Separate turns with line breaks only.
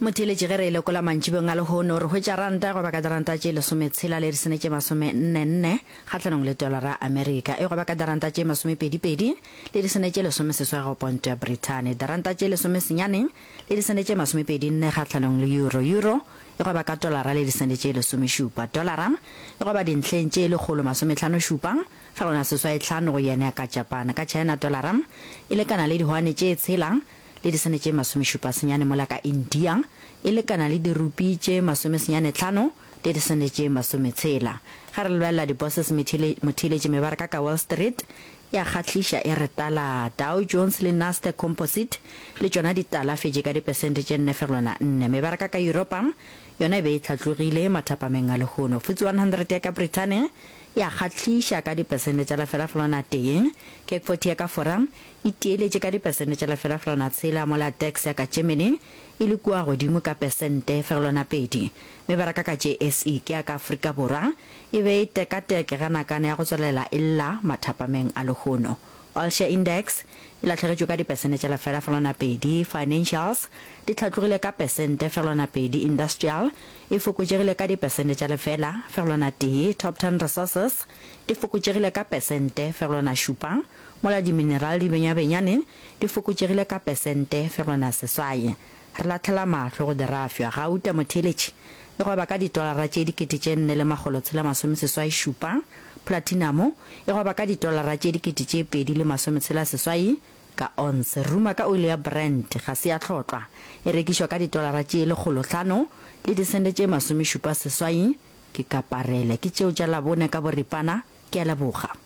Motheeletši ge re e lekola mantšibeng a lehono, re hwetša ranta e gweba ka diranta tše lesometshela le disene tše masomennenne kgahlanong le tolara ya Amerika, e gweba ka diranta tše masomepedipedi le disene tše lesomeseswai go ponto ya Brithani, diranta tše lesomesenyane le disene tše masomepedinne kgahlanong le euro, euro e gweba ka tolara le disene tše lesomešupa, tolara e gweba dintlheng tše lekgolo masomehlanošupa fegelwana seswaihlano go yen ya ka Japan, ka China tolara e lekana le dihwane tše tshela le disene tše masomešupa senyane mola ka India e lekana le dirupi tše masomesenyanetlhano le disene tše masometshela. Ge re lebelela di-bosses motheeletši mebaraka ka Wall Street e a kgahliša e re tala. Dow Jones le Nasdaq Composite le tšona di talafetše ka dipesente tše 4,4. Mebaraka ka Yuropa yona e be e hlatlogile mathapameng a lehono. FTSE 100 ya ka Brithane e a kgahliša ka dipesente tša lefela-felwana tee. CAC 40 ya ka Fora e tieletše ka dipesente tša lefela-felwana tshela mola DAX ya ka Germany e le kua godimo ka pesente fegelwana pedi. Mebaraka ka JSE ke ya ka Afrika Borwa e be e tekateke ge nakana ya go tswelela e lla mathapameng a lehono. All Share Index e lahlegetšwe ka dipesente tša lefela-felwana pedi, Financials di hlatlogile ka pesente fegelwana pedi, Industrial e fokotšegile ka dipesente tša lefela fegelwana tee, Top Ten Resources di fokotšegile ka pesente fegelwana šupa, Mola diminerale di benyabenyane di fokotšegile ka pesente fegelwana seswai. Re lahlela mahlo go dirafša, gauta, motheeletši, e gweba ka ditolara tše 4687, platinamo e gweba ka ditolara tše 2068 ka onse. Ruma ka oli ya Brent ga se ya hlotlwa, e rekišwa ka ditolara tše 500 le disente tše 78 ke ka parele. Ke tšeo tša Labone ka boripana, ke a leboga.